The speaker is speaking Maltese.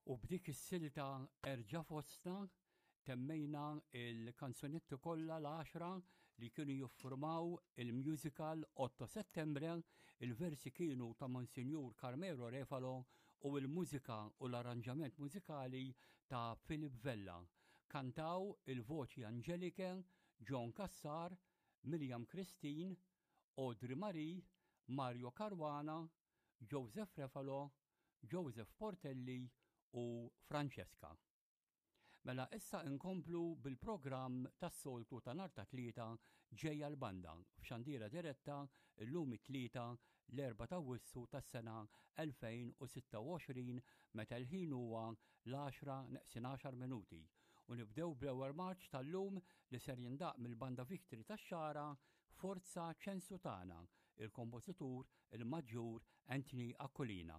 U b'dik is-silta Erġa' Fostna temmejna l-kanzunetti kollha l-għaxra li kienu jiffurmaw il-musical Otto Settembre, il-versi kienu ta' Monsinjur Carmelo Refalo u l-mużika u l-arranġament mużikali ta' Philip Vella. Kantaw il-voċi Angelike, John Cassar, Miriam Christine, Audrey Marie, Mario Caruana, Joseph Refalo, Joseph Portelli u Francesca. Mela issa inkomplu bil-programm tas-soltu ta' nhar ta' Tlieta ġejja l-banda f'xandira diretta llum it-Tlieta l-Erbgħa t'Awwissu tas-sena 2026 meta l-ħin huwa l-għaxra neqsin għaxar minuti u nibdew bl-ewwel marċ tal-lum li ser jindaqq mill-Banda Victory tax-Xagħra Forza Ċensu Tagħna, il-kompożitur il-Maġġur Anthony Aquilina.